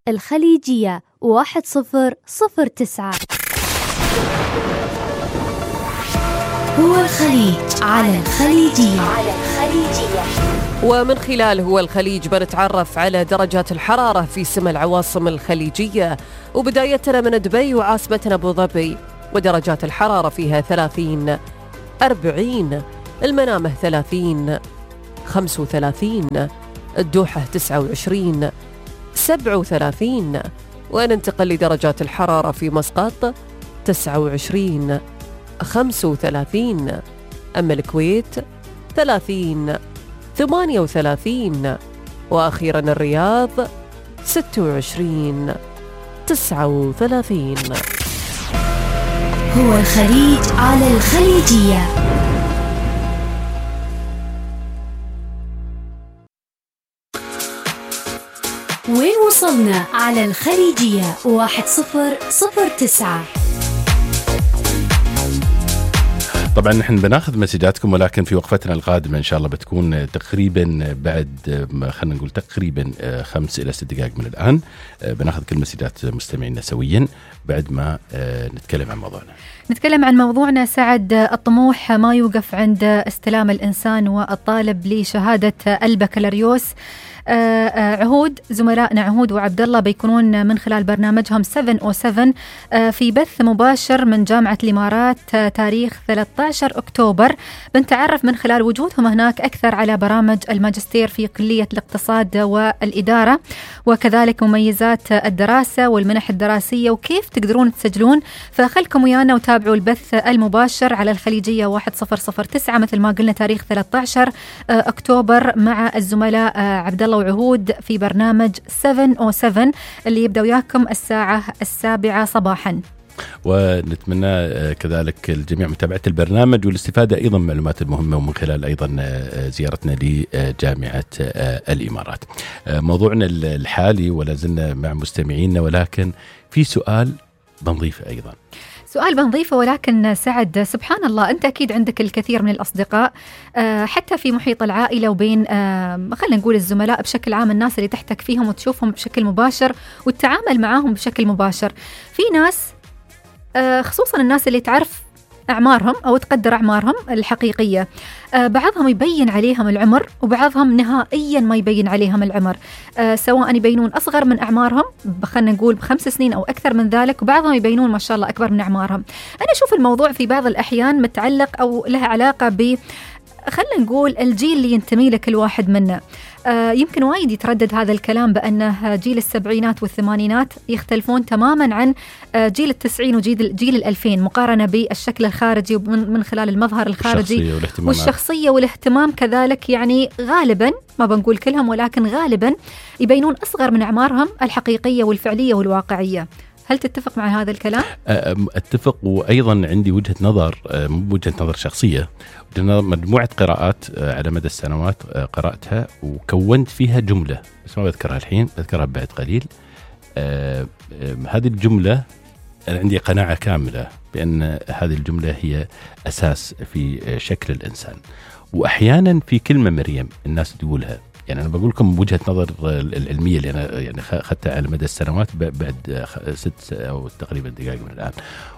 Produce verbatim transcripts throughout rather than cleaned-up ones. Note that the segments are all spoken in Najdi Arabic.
الخليجية واحد صفر صفر تسعة. هو الخليج على الخليجية. على الخليجية. ومن خلال هو الخليج بنتعرف على درجات الحرارة في سما العواصم الخليجية، وبدايتنا من دبي وعاصمتنا أبو ظبي، ودرجات الحرارة فيها ثلاثين، أربعين، المنامة ثلاثين، خمسة وثلاثين، الدوحة تسعة وعشرين، سبعة وثلاثين، وننتقل لدرجات الحرارة في مسقط تسعة وعشرين، خمسة وثلاثين، أما الكويت ثلاثين، ثمانية وثلاثين، وأخيرا الرياض ستة وعشرين، تسعة وثلاثين. هو الخليج على الخليجية. وين وصلنا على الخليجية واحد صفر صفر تسعة. طبعا نحن بناخذ مسجاتكم، ولكن في وقفتنا القادمة إن شاء الله بتكون تقريبا بعد خلينا نقول تقريبا خمس إلى ست دقائق من الآن. بناخذ كل مسجات مستمعينا سويا بعد ما نتكلم عن موضوعنا. نتكلم عن موضوعنا سعد. الطموح ما يوقف عند استلام الإنسان والطالب لشهادة البكالوريوس. عهود زملائنا عهود وعبد الله بيكونون من خلال برنامجهم سبعة أو سبعة في بث مباشر من جامعة الإمارات تاريخ ثلاثة عشر أكتوبر. بنتعرف من خلال وجودهم هناك أكثر على برامج الماجستير في كلية الاقتصاد والإدارة، وكذلك مميزات الدراسة والمنح الدراسية وكيف تقدرون تسجلون. فخلكم ويانا وتابعوا البث المباشر على الخليجية واحد صفر صفر تسعة مثل ما قلنا تاريخ ثلاثة عشر أكتوبر مع الزملاء عبد الله وعهود في برنامج سبعة أو سبعة اللي يبدأ وياكم الساعة السابعة صباحا. ونتمنى كذلك الجميع متابعة البرنامج والاستفادة أيضا من معلومات المهمة، ومن خلال أيضا زيارتنا لجامعة الإمارات. موضوعنا الحالي ولا زلنا مع مستمعينا، ولكن في سؤال بنضيفه أيضا سؤال بنضيفه ولكن سعد سبحان الله أنت أكيد عندك الكثير من الأصدقاء حتى في محيط العائلة وبين خلينا نقول الزملاء بشكل عام، الناس اللي تحتك فيهم وتشوفهم بشكل مباشر والتعامل معاهم بشكل مباشر. في ناس خصوصا الناس اللي تعرف أعمارهم أو تقدر أعمارهم الحقيقية، بعضهم يبين عليهم العمر وبعضهم نهائيا ما يبين عليهم العمر، سواء يبينون أصغر من أعمارهم خلينا نقول بخمس سنين أو أكثر من ذلك، وبعضهم يبينون ما شاء الله أكبر من أعمارهم. أنا أشوف الموضوع في بعض الأحيان متعلق أو له علاقة ب خلينا نقول الجيل اللي ينتمي له كل واحد منا. آه يمكن وايد يتردد هذا الكلام بأنه جيل السبعينات والثمانينات يختلفون تماما عن آه جيل التسعين وجيل جيل الألفين مقارنة بالشكل الخارجي ومن من خلال المظهر الخارجي والشخصية والاهتمام كذلك. يعني غالبا ما بنقول كلهم ولكن غالبا يبينون أصغر من أعمارهم الحقيقية والفعلية والواقعية. هل تتفق مع هذا الكلام؟ أتفق، وأيضا عندي وجهة نظر وجهة نظر شخصية، مجموعة قراءات على مدى السنوات قرأتها وكونت فيها جملة بس ما بذكرها الحين، بذكرها بعد قليل. هذه الجملة أنا عندي قناعة كاملة بأن هذه الجملة هي أساس في شكل الإنسان. وأحيانا في كلمة مريم الناس تقولها، يعني أنا بقول لكم وجهة نظر العلمية اللي أنا يعني أخذتها على مدى السنوات بعد ست أو تقريبا دقائق من الآن،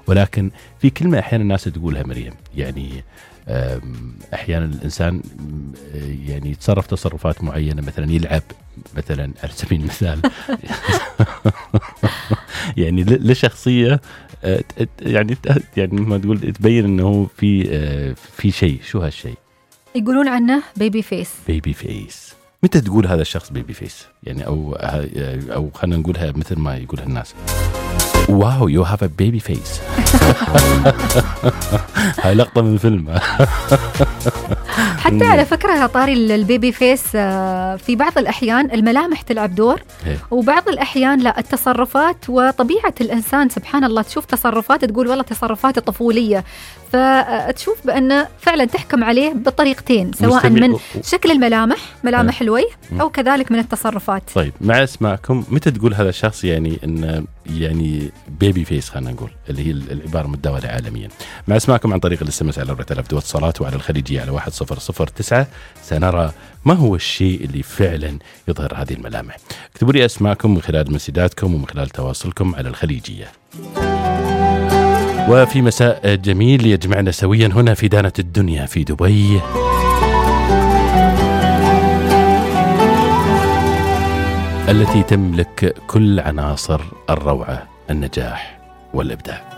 ولكن في كلمة أحيانا الناس تقولها مريم، يعني أحيانا الإنسان يعني يتصرف تصرفات معينة، مثلا يلعب مثلا على سبيل المثال يعني لشخصية يعني يعني ما تقول تبين إنه في في شيء. شو هالشيء؟ يقولون عنه بيبي فيس. بيبي فيس. متى تقول هذا الشخص بيبي فيس؟ يعني أو أو خلينا نقولها مثل ما يقولها الناس، واو يو هاف ا بيبي فيس. هاي لقطة من الفيلم. حتى على فكرة طاري البيبي فيس في بعض الأحيان الملامح تلعب دور، وبعض الأحيان لا التصرفات وطبيعة الإنسان. سبحان الله تشوف تصرفات تقول والله تصرفات طفولية، فتشوف بأنه فعلا تحكم عليه بطريقتين، سواء من شكل الملامح ملامح الوجه أو كذلك من التصرفات. طيب مع اسمعكم متى تقول هذا الشخص يعني إن يعني بيبي فيس، خلينا نقول اللي هي العبارة متداولة عالميا. مع اسمعكم عن طريق الاس ام اس على أربعة آلاف دو اتصالات، وعلى الخليجية على واحد صفر صفر صفر تسعة سنرى ما هو الشيء اللي فعلا يظهر هذه الملامح. اكتبوا لي أسماءكم من خلال مسداتكم ومن خلال تواصلكم على الخليجية. وفي مساء جميل يجمعنا سويا هنا في دانة الدنيا في دبي، التي تملك كل عناصر الروعة، النجاح والإبداع.